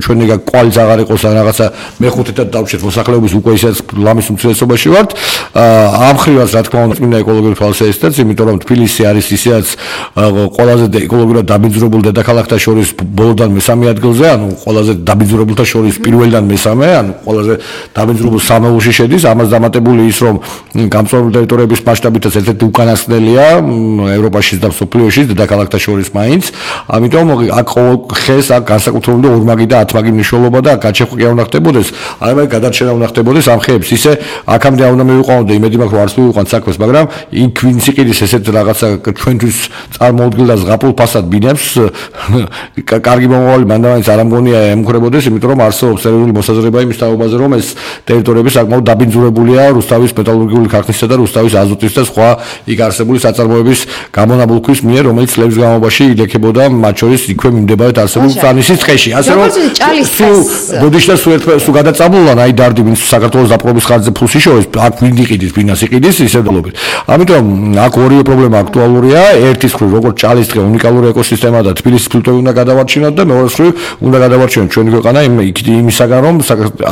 ჩვენ ეგ კვალიც აღარ იყოს ან რაღაცა მეხუთედად დავჭერთ მოსახლეობის უკვე ისეთ ლამის უმცირესობაში ვართ. ამ ხრივაც რა თქმა უნდა წმინდა ეკოლოგიური თვალსაზრისითაც, იმიტომ რომ თბილისი არის ისედაც ყველაზე ეკოლოგიურად დაბინძურებულ დედაქალაქთა შორის ბოლოდან მესამე ადგილზე, ანუ ყველაზე დაბინძურებულთა შორის პირველიდან მესამე, ანუ ყველაზე დაბინძურებულ სამეულში შედის. ამას დამატებული ის რომ გამწვავებული ტერიტორიების მასშტაბითაც ერთ-ერთი უკანასკნელია ევროპაში და მსოფლიოში დედაქალაქთა შორის მაინც. ამიტომ აქ ხეს აქ განსაკუთრებული ორმაგი და ათმაგი მნიშვნელობა და აქ გაჩეხვა უნდა ხდებოდეს, აი გადარჩენა უნდა ხდებოდეს ამ ხეებს. ისე აქამდე უნდა მივიყვანოთ და იმედი მაქვს რომ არც მივიყვანთ საქმეს, მაგრამ იქ ვინც იყიდის ესეთ რაღაცა ჩვენთვის წარმოუდგენელ და ზღაპრულ ფასად ბინებს კარგი მომავალი მანდამაინც არ ამგონია ემუქრებოდეს, იმიტომ რომ არსებობს სერიოზული მოსაზრება იმის თაობაზე, რომ ეს ტერიტორიები საკმაოდ დაბინძურებულია რუსთავის მეტალურგიული ქარხნისა და რუსთავის აზოტის და სხვა იქ არსებული საწარმოების გამონაბოლქვის მიერ, რომელიც წლების განმავლობაში ილექებოდა მათ შორის იქვე მიმდებარედ არსებულ წანისის ტყეში. ასე რომ ბოდიშთა სულ გადაწამულან აი დარდი ვინც საქართველოს დაპყრობის ხარჯზე ფულს იშოვეს, აქ ვინ იყიდის, ვინას იყიდის, ისე დლობით. ამიტომ აქ ორივე პრობლემა აქტუალურია. ერთის მხრივ როგორც ჭალის ტყე უნიკალური ეკოსისტემა და თბილისის ფილტვები უნდა გადავარჩინოთ და მეორე მხრივ უნდა გადავარჩინოთ ჩვენი ქვეყანა იმისაგან რომ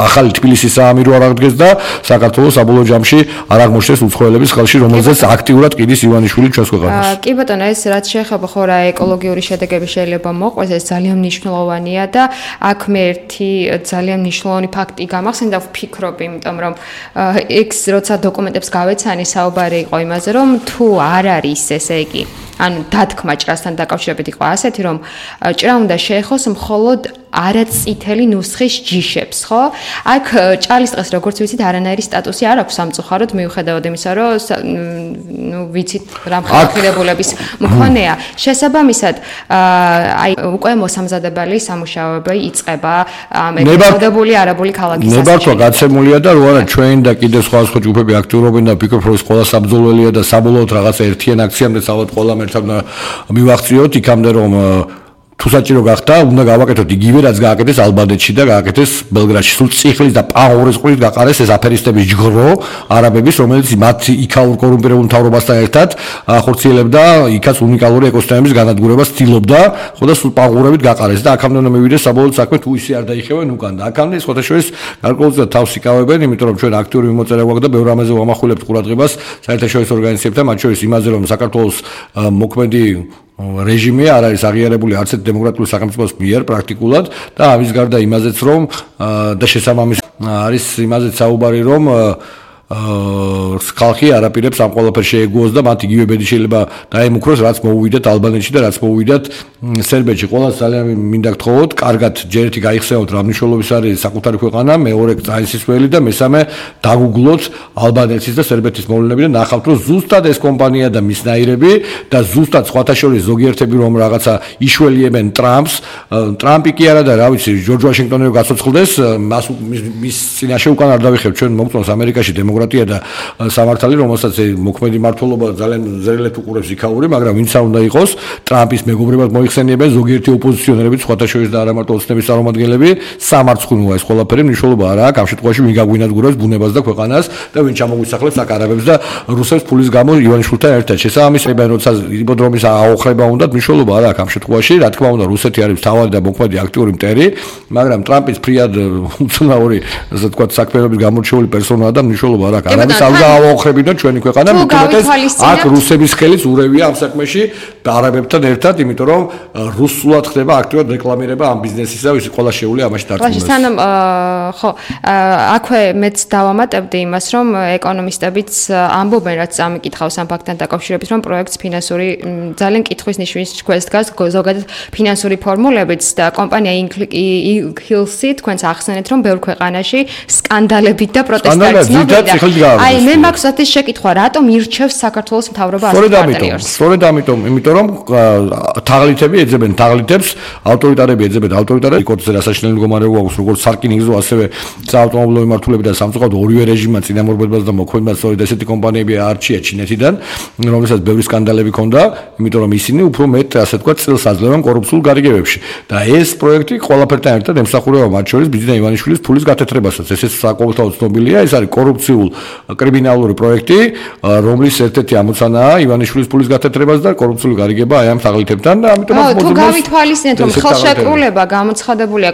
ახალი თბილისის საამირო არ აღდგეს და საქართველოს საბოლოო ჯამში არ აღმოჩნდეს უცხოელების ხელში, რომელზეც აქტიურად ყიდის ივანიშვილი ჩვენს ქვეყანას. კი ბატონო, ეს რაც შეეხება ხო რა ეკოლოგიური შედეგები შეიძლება მოყვეს, ეს ძალიან მნიშვნელოვანია და აქ მე ერთი ძალიან მნიშვნელოვანი ფაქტი გამახსენდა, ვფიქრობ, იმიტომ რომ ეს როცა დოკუმენტებს გავეცანი, საუბარი იყო იმაზე, რომ თუ არ არის ესე იგი ანუ დათქმა ჭრასთან დაკავშირებით იყო ასეთი, რომ ჭრა უნდა შეეხოს მხოლოდ არაწითელი ნუსხის ჯიშებს, ხო? აქ ჭალის ტყეს როგორც ვიცით, არანაირი სტატუსი არ აქვს სამწუხაროდ, მიუხედავად იმისა, რომ ვიცით რა მხარდაჭერებულების მქონეა. შესაბამისად, აი უკვე მოსამზადებელი სამუშაოები იწყება მეგობრებული არაბული ქალაქის ასაკში. ნებართვა გაცემულია და რო არა ჩვენ და კიდევ სხვა ჯგუფები აქტიურობენ და ვფიქრობ, რომ ეს ყველა საბრძოლველია და საბოლოოდ რაღაცა ერთიან აქციამდე ალბათ ყველამ ერთად მივახციოთ იქამდე რომ თუ საჭირო გახდა, უნდა გავაკეთოთ იგივე, რაც გააკეთეს ალბანეთში და გააკეთეს ბელგრადში. სულ წიხლის და პაურის ყურით გაყარეს ეს აფერისტების ჯგრო არაბების, რომელიც მათ იქაურ კორუმპირებულ მთავრობასთან ერთად ახორციელებდა იქაც უნიკალური ეკოსისტემების განადგურებას ცდილობდა, ხო და სულ პაურებით გაყარეს და აქამდე უნდა მივიდეს საბოლოოდ საქმე თუ ისე არ დაიხევენ უკან და აქამდე სხვათა შორის გარკვეულწილად თავს იკავებენ, იმიტომ რომ ჩვენ აქტიური მიმოწერა გვაქვს და ბევრ ამაზე ვამახვილებთ ყურადღებას საერთაშორისო ორგანიზაციებთან, მათ შორის იმაზე, რომ საქართველოს მოქმედი რეჟიმი არ არის აღიარებული არც ერთ დემოკრატიული სახელმწიფოს მიერ პრაქტიკულად და ამის გარდა იმაზეც რომ და შესაბამისად არის იმაზეც საუბარი რომ ხალხი არაპირებს ამ ყველაფერს შეეგუოს და მათ იგივე ბედი შეიძლება დაემუქროს რაც მოუვიდათ ალბანეთში და რაც მოუვიდათ სერბეთში. ყველას ძალიან მინდა გთხოვოთ, კარგად ჯერეთი გაიხსენოთ რა მნიშვნელობის არის საკუთარი ქვეყანა, მეორე წაისისველი და მესამე დაგუგლოთ ალბანეთის და სერბეთის მოვლენები და ნახავთ რომ ზუსტად ეს კომპანია და მისნაირები და ზუსტად სხვათა შორის ზოგიერთები რომ რაღაცა იშველიებენ ტრამპს, ტრამპი კი არა და რა ვიცი ჯორჯ ვაშინგტონი რო გაცოცხლდეს, მის წინაშე უკან არ დავიხებ ჩვენ მოგწონს ამერიკაში დემოკრატია და სამართალი, რომელსაც მოქმედი მმართველობა ძალიან ზრელეთ უყურებს იქაური, მაგრამ ვინც არ უნდა იყოს ტრამპის მეგობრებად მოიხსენიებენ ზოგიერთი ოპოზიციონერები, სხვათა შორის და არა მარტო ოცნების წარმომადგენლები, სამარცხუნოა ეს ყველაფერი, მნიშვნელობა არ აქვს ამ შემთხვევაში ვინ გაგვინადგურებს ბუნებას და ქვეყანას და ვინ ჩამოგვისახლებს აქ არაბებს და რუსებს ფულის გამო ივანიშვილთან ერთად. შესაბამისად, როცა იპოდრომის აოხრება უნდათ, მნიშვნელობა არ აქვს ამ შემთხვევაში, რა თქმა უნდა, რუსეთი არის თავარი და მოქმედი აქტიური მტერი, მაგრამ ტრამპის ფრიად უცნაური, ასე ვთქვათ, საქმიანობის გამორჩეული პერსონაა და მნიშვნელობა არ აქვს. არაბის ალგა აოხრებინოთ ჩვენი ქვეყანა, მithumetes აქ რუსების ხელიც ურევია ამ საქმეში არაბებთან ერთად, იმიტომ რომ რუსულად ხდება აქტიურად რეკლამირება ამ ბიზნესისა, ვის ყველა შეუძლია ამაში დარწმუნდეს. სანამ ხო, აქვე მეც დავამატებდი იმას, რომ ეკონომისტებიც ამბობენ, რაც ამიკითხავს ამ ფაქტთან დაკავშირებით, რომ პროექტს ფინანსური ძალიან კითხვის ნიშნის ქვეშ დგას ზოგადად ფინანსური ფორმულებიც და კომპანია Hills-ი თქვენს ახსენეთ, რომ ბევრ ქვეყანაში სკანდალებით და პროტესტებით მოვიდა. აი მე მაქვს ეს შეკითხვა, რატომ ირჩევს საქართველოს მთავრობა ასეთ პარტნიორს? სწორედ ამიტომ, იმიტომ რომ თაღლითები ეძებენ თაღლითებს, ავტორიტარები ეძებენ ავტორიტარებს, კოდზე რასაშინელი მდგომარეობა აქვს, როგორც სარკინიგზო, ასევე საავტომობილო მიმართულებით და სამწუხაროდ ორივე რეჟიმმა წინამორბედებას და მოქმედებას სწორედ ესეთი კომპანიები არჩია ჩინეთიდან, რომელსაც ბევრი სკანდალები ჰქონდა, იმიტომ რომ ისინი უფრო მეტ, ასე ვთქვათ, წილს აძლევენ კორუფციულ გარიგებებში. და ეს პროექტი ყველაფერთან ერთად ემსახურება მათ შორის ბიძინა ივანიშვილის ფულის გათეთრებასაც. ესეც საკმაოდ ცნობილია, ეს არის კორუფციულ კრიმინალური პროექტი, რომლის ერთ-ერთი ამოცანაა ივანიშვილის ფულის გათეთრებას და კორუფციული გარიგება აი ამ თაღლითებთან და ამიტომაც თუ გავითვალისწინეთ, რომ ხელშეკრულება გამოცხადებულია